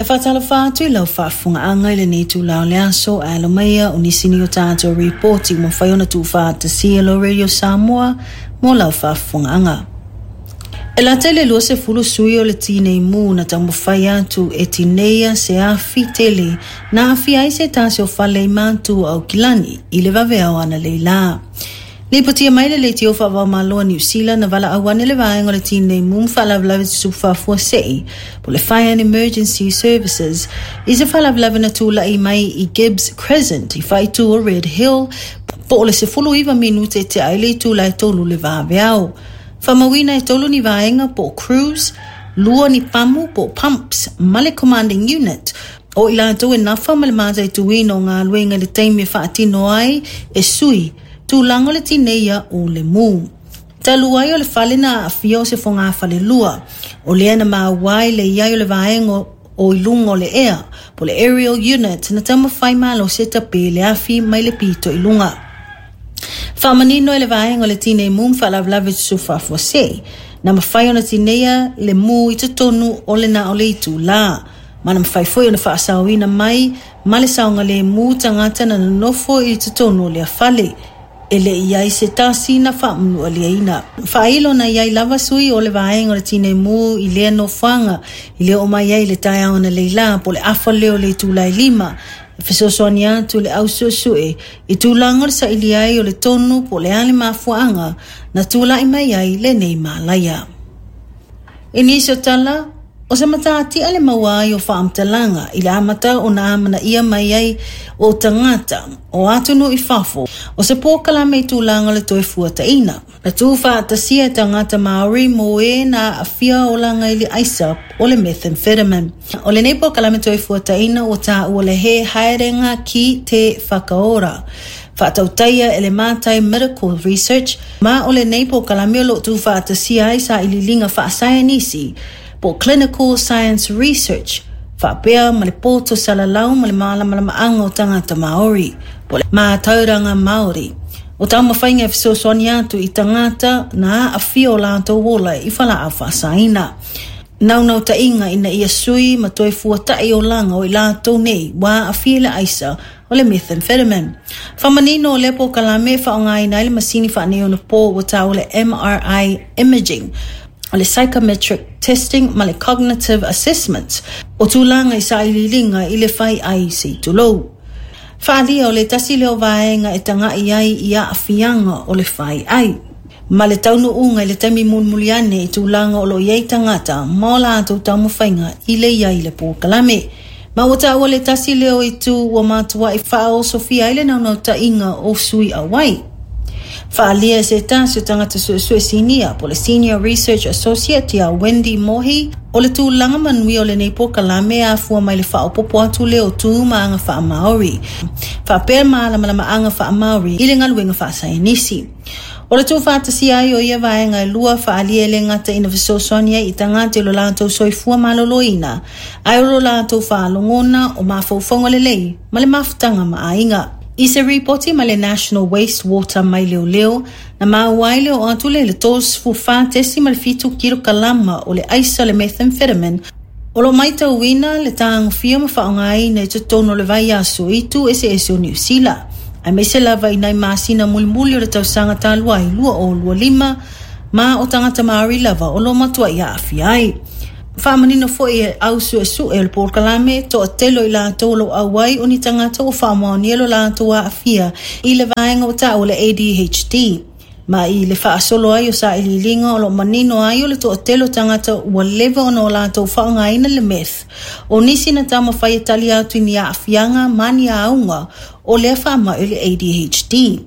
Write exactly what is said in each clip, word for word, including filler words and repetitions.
E faatalofa atu i lau faafofogaaga i lenei itulā o le aso, ae alo maia o nisi nei o tatou ripoti ua mafai ona tuufaatasia lau Radio Samoa mo lau faafofogaaga. E lata i le luasefulu sui o le tinei mu na taumafai atu e tineia se afi tele na aafia ai se tasi o fale i Matu o Aukilani i le vaveao analeila. Lipotia mai le leitio faava-o-Malo a Niu Sila na valaau ane le vaega o le tinei mu ma faalavelave tutupu faafuasei po le Fire and Emergency Services i se faalavelave na tulai mai i Gibbs Crescent i faaitu o Red Hill po o le sefulu iva minute e tea ai le itula e tolu le vaveao. Faamauina e tolu ni vaega po o crews, lua ni pamu po o pumps ma le commanding unit o i latou e nafa ma le mataituina o galuega i le taimi e faatino ai e sui tulaga o le tineia o le mu. Talu ai o le fale na aafia o se fogafalelua, o lea na maua ai le i ai o le vaega o i luga o le ea, po o le aerial unit na taumafai malosi e tape le afi mai le pito i luga. Faamanino e le vaega o le tinei mu ma faalavelave tutupu faafuasei, na mafai ona tineia le mu i totonu o le na o le itulā, ma na mafai foi ona faasaoina mai ma le saogalemu tagata na nonofo i totonu o lea fale, e le i ai se tasi na faamanualiaina. Faailo na i ai lava sui o le vaega o le tinei mu i lea nofoaga i le oo mai ai i le taeao analeila po o le afa lea o le itula e lima, e fesoasoani atu le au suesue i tulaga o le saili ai o le tonu po o le a le mafuaaga na tulai mai ai lenei malaia. I nisi o tala, o se matatia le maua ai o faamatalaga i le amata ona amanaia mai ai o tagata o atunuu i fafo o se polokalame i tulaga o le toe fuataina. Na tuufaatasia e tagata Maori mo e na aafia olaga i le aisa o le methamphetamine. O lenei polokalame toe fuataina ua taua le He Haerenga ki te Whakaora, faatautaia e le Mātai Medical Research, ma o lenei polokalame o loo tuufaatasia ai sailiiliga faasaienisi po Clinical Science Research, faapea ma le poto salalau ma le malamalamaaga o tagata Maori, po le mātauranga Maori. O taumafaiga e fesoasoani atu i tagata na aafia o latou ola i falaau faasaina. Naunautaiga ina ia sui ma toe fuata'i olaga o i latou nei ua aafia i le aisa o le methamphetamine. Faamanino o lea polokalame e faaaogaina ai le masini faaneionapo ua taua le M R I imaging, o le psychometric testing ma le cognitive assessment o tulaga i sailiiliga i le fai ai se itulou. Faalia o le tasi lea o vaega e taga'i ai i aafiaga o le fai ai ma le taunuuga i le taimi mulimuli ane i tulaga o loo i ai tagata ma o latou taumafaiga i le i ai i le polokalame. Ma ua taua le tasi lea o itu ua matuai faaosofia ai le naunautaiga o sui auai. Faalia e se tasi o tagata suesue sinia po le Senior Research Associate ia Wendy Mohi o le tulaga manuia o lenei polokalame e afua mai le faaopopo atu lea o tu ma aga faamaori, faapea malamalamaaga faamaori i le galuega faasaienisi. O le tuufaatasia ai o ia vaega e lua faalia e le gata ina fesoasoani ai i tagata i lo latou soifua maloloina, ae o lo latou faalogona o mafaufauga lelei ma le mafutaga ma aiga. I se ripoti ma le National Wastewater mai leoleo, na maua ai le oo atu lea i le tolusefulu fa tesima le fitu kilokalama o le aisa o le methamphetamine o loo maitauina le tagofia ma faaaogaina i totonu o le vaiaso i itu eseese o Niu Sila, aemaise lava i nai masina mulimuli o le tausaga talu ai lua o lua lima, ma o tagata Maori lava o loo matuai aafia ai. Faamanino foi e au suesue o le polokalame toatele o i latou o loo auai o ni tagata ua faamaonia lo latou aafia i le vaega o taua le A D H D. Ma i le faasolo ai o sailiiliga o loo manino ai o le toatele o tagata ua leva ona o latou faaaogaina le meth. O nisi na taumafai e tali atu i ni aafiaga ma ni auga o lea faamai o le A D H D.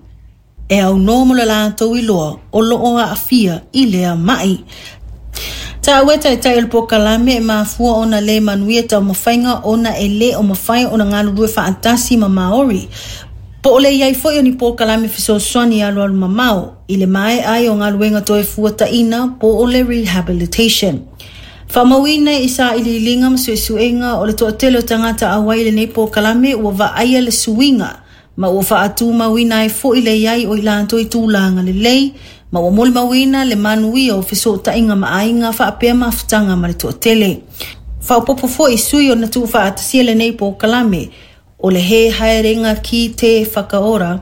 E aunoa mo le latou iloa o loo aafia i lea mai. Taua e taitai o le polokalame e mafua ona le manuia taumafaiga ona e le o mafai ona galulue faatasi ma Maori. Po o le i ai foi o ni polokalame fesoasoani alualu mamao i le maea ai o galuega toe fuataina po o le rehabilitation. Faamauina i sailiiliga ma suesuega o le toatele o tagata auai i lenei polokalame ua vaaia le suiga ma ua faatumauina ai foi le i ai o i latou i tulaga lelei ma ua molimauina le manuia o fesootaiga ma aiga faapea mafutaga ma le toatele. Faaopoopo foi sui ona tuufaatasia lenei polokalame o le He Haerenga ki te Whakaora.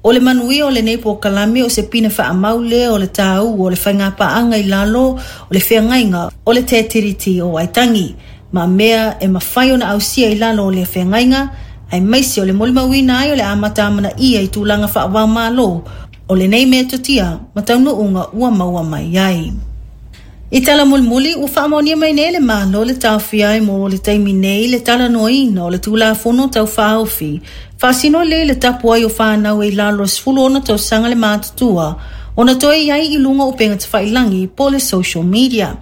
O le manuia o lenei polokalame o se pine faamau lea o le tāua o le faigapaaga i lalo o le feagaiga o le Te Tiriti o Waitangi. Ma mea e mafai ona ausia i lalo o le feagaiga, aemaise o le molimauina ai o le amata amanaia i tulaga faava-o-Malo o lenei metotia ma taunuuga ua maua mai ai. I tala mulimuli, ua faamaonia mai nei le Malo le taofia ai mo le taimi nei le talanoaina o le Tulafono Tau Faaofi faasino lea le tapu ai o whānau e lalo o sefulu ono tausaga le matutua ona toe i ai i luga o upega tafailagi po o le social media.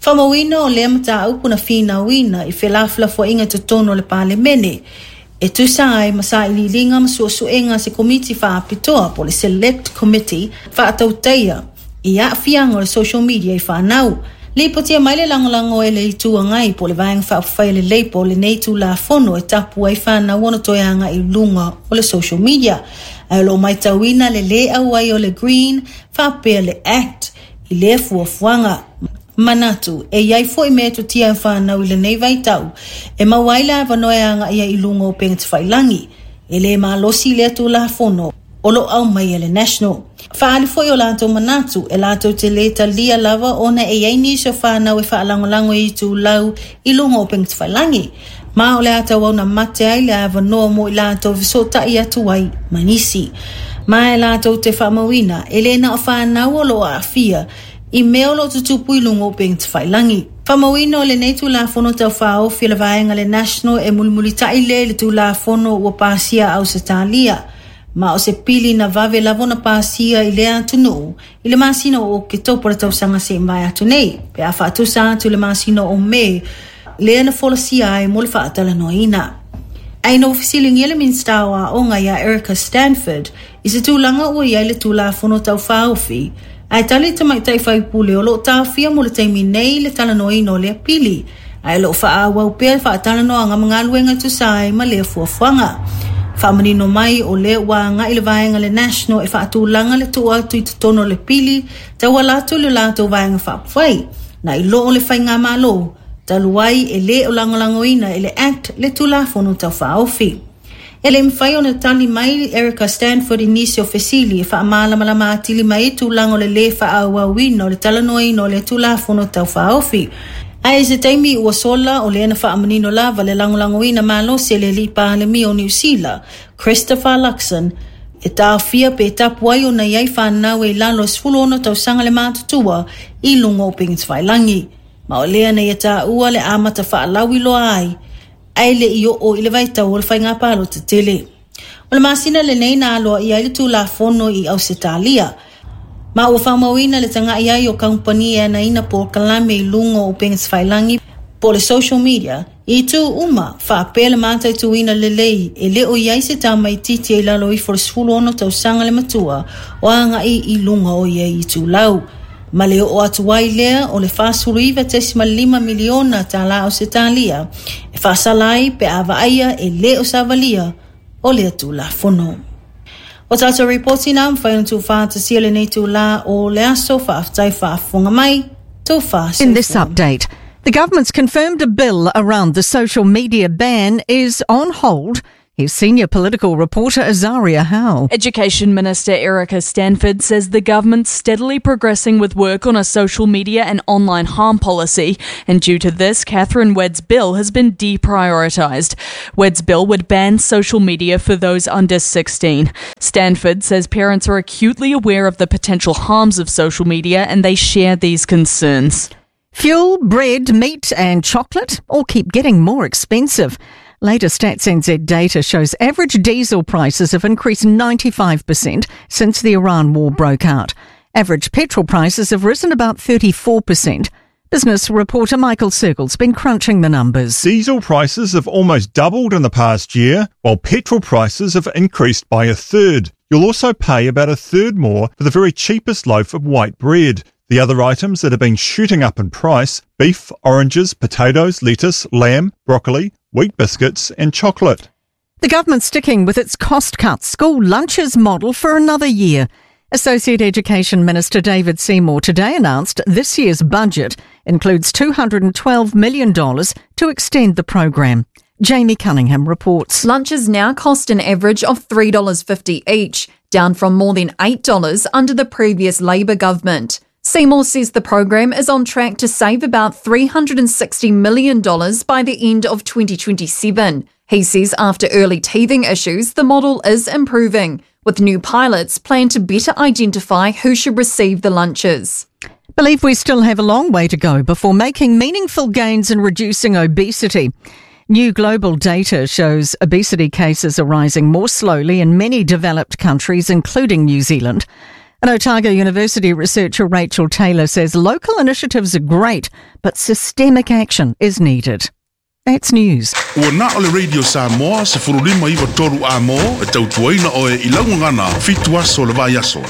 Faamauina o lea mataupu na finauina i felafolafoaiga i totonu o le Palemene e tusa ai ma sailiiliga ma suesuega a se komiti faapitoa po o le Select Committee faatautaia i aafiaga o le social media i whānau. Lipotia mai le lagolago e le Itu Agai po o le Vaega Faaupufai a le Labour o lenei Tulafono e tapu ai whānau ona toe agai i luga o le social media. Ae o lo o matauina le lē auai o le Green faapea le Act i lea fuafuaga. Manatu, e iai foi metotia e whānau i lenei vaitau, e maua ai le avanoa e agaia i luga o upega tafailagi. E le malosi lea Tulafono o lo o aumai e le National. Faaali foi o latou manatu e latou te lē talia lava ona e iai nisi o whānau e faalagolago i itulau i luga o upega tafailagi. Ma o le a tauau na mate ai le avanoa mo i latou fesootai atu ai ma nisi. Ma e latou te faamauina e le na o whānau o lo o aafia i mea o lo o tutupu i luga o upega tafailagi. Faamauina o lenei Tulafono Tau Faaofi o le Vaega le National e mulimulitai lea i le Tulafono ua pasia Ausetalia. Ma o se pili na vave lava ona pasia i lea atunuu i le masina o Oketopa le tausaga se i mavae atu nei, pe a faatusa atu i le masina o Me lea na folasia ai mo le faatalanoaina. Ae ina ua fesiligia le Minisita o Aoga ia Erica Stanford i se tulaga ua i ai le Tulafono Tau Faaofi, ae tali le tamaitai faipule o lo o taofia mo le taimi nei le talanoaina o lea pili, ae o lo o faaauau pea le faatalanoaga ma galuega e tusa ai ma lea fuafuaga. Faamanino mai o lea ua agai le vaega le National e faatulaga le tuu atu i totonu o le pili tauala atu i le latou Vaega Faaupufai, na i lo o le faigamalo talu ai e lē o lagolagoina e le Act le Tulafono Tau Faaofi. E le mafai ona tali mai Erica Stanford i nisi o fesili e faamalamalama atili mai ai tulaga o le lē faaauauina o le talanoaina o le Tulafono Tau Faaofi. Ae i se taimi ua sola o lea na faamanino lava le lagolagoina malosi e le alii Palemia o Niu Sila, Christopher Luxon, e taofia pe tapu ai ona i ai whānau e i lalo o sefulu ono tausaga le matutua i luga o upega tafailagi. Ma o lea na ia tāua le amata faalauiloa ai, ae le i oo i le vaitau o le faigapalota tele. O le masina lenei na aloaia ai le Tulafono i Ausetalia. Ma ua faamauina le tagai ai o kamupani e anaina polokalame i luga o upega tafailagi po o le social media i itu uma faapea le mataituina lelei e le o i ai se tamaitiiti e i lalo ifo o le sefulu ono tausaga le matua o agai i luga o ia itulau. Ma le oo atu ai lea o le fasefulu iva tesima lima miliona tālā Ausetalia e faasala ai pe a vaaia e lē o savalia o lea Tulafono. O tātou ripoti na mafai ona tuufaatasia lenei itulā o le aso. Faafetai faafofoga mai, tofa In this soifua. Update, the government's confirmed a bill around the social media ban is on hold. Here's senior political reporter Azaria Howe. Education Minister Erica Stanford says the government's steadily progressing with work on a social media and online harm policy, and due to this, Catherine Wedd's bill has been deprioritised. Wedd's bill would ban social media for those under sixteen. Stanford says parents are acutely aware of the potential harms of social media and they share these concerns. Fuel, bread, meat and chocolate all keep getting more expensive. Latest Stats N Z data shows average diesel prices have increased ninety-five percent since the Iran war broke out. Average petrol prices have risen about thirty-four percent. Business reporter Michael Sergel's been crunching the numbers. Diesel prices have almost doubled in the past year, while petrol prices have increased by a third. You'll also pay about a third more for the very cheapest loaf of white bread. The other items that have been shooting up in price: beef, oranges, potatoes, lettuce, lamb, broccoli, wheat biscuits, and chocolate. The government's sticking with its cost cut school lunches model for another year. Associate Education Minister David Seymour today announced this year's budget includes two hundred twelve million dollars to extend the program. Jamie Cunningham reports. Lunches now cost an average of three dollars fifty each, down from more than eight dollars under the previous Labor government. Seymour says the program is on track to save about three hundred sixty million dollars by the end of twenty twenty-seven. He says after early teething issues, the model is improving, with new pilots planned to better identify who should receive the lunches. Believe we still have a long way to go before making meaningful gains in reducing obesity. New global data shows obesity cases are rising more slowly in many developed countries, including New Zealand. And Otago University researcher Rachel Taylor says local initiatives are great, but systemic action is needed. That's news. Ua na o le Radio Samoa se furulima iwa toru a mo e tautuaina oe i laungana fitu aso le vai aso.